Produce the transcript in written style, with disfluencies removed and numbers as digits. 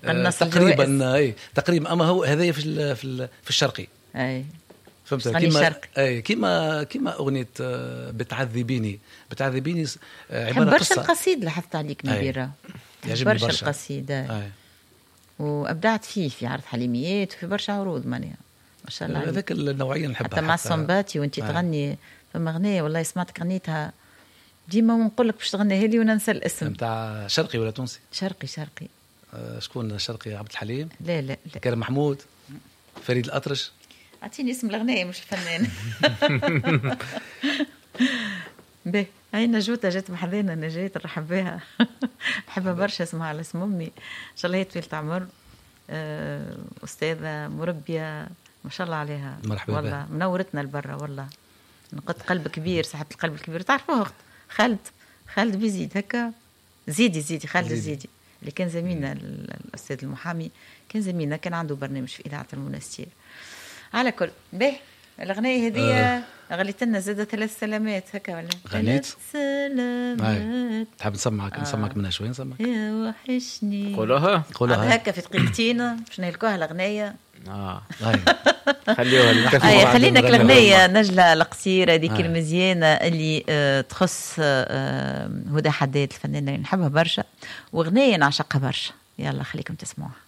قناص تقريبا، اي تقريبا. اما هو هذايا في الشرقي. اي فهمت، تغني كيما شرقي. اي كيما اغنية بتعذبيني، بتعذبيني عبارة برشا قصة. القصيد لاحظت عليك نبيرة. يعجبني برشا برشا. القصيدة. أي. وابدعت فيه في عرض حليميات وفي برشا عروض معناها ما شاء الله عليك. هذاك النوعية نحبها. حتى مع الصنباتي وانت تغني فما اغنية والله سمعتك غنيتها ديما ونقول لك باش تغنيها لي وننسى الاسم. نتاع شرقي ولا تونسي؟ شرقي شرقي. شكون شرقي؟ عبد الحليم؟ لا لا لا. كريم محمود؟ فريد الأطرش؟ اعطيني اسم الاغنية مش الفنان. باهي هاي نجوتة جات بحذانا، نجاة نرحب بها، نحبها برشا، اسمها على اسم امي، ان شاء الله هي طويلة عمر، استاذه مربيه ما شاء الله عليها. مرحبا والله بها. منورتنا لبرا والله، نقط قلب كبير، صاحبة القلب الكبير، تعرفوها اخت خالد بيزيد هكا، زيدي زيدي خالد زيدي. زيدي اللي كان زميلنا الاستاذ المحامي، كان زميلنا، كان عنده برنامج في اذاعة المنستير. على كل به الاغنية هذه غليت لنا زادة 3 سلامات هكا ولا؟ غنيت؟ 3 سلامات. تحب نسمعك منها شوي؟ نسمعك. يا وحشني. قولوها. قولوها. هكا في دقيقتين باش نهلكوها الاغنية. خليوها للكفي. بعد خلينا نغني الاغنية نجلة القصيرة هذيك المزيانة اللي تخص هدى حداد الفنانة اللي نحبها برشا، واغنية نعشقها برشا. يلا خليكم تسمعوها.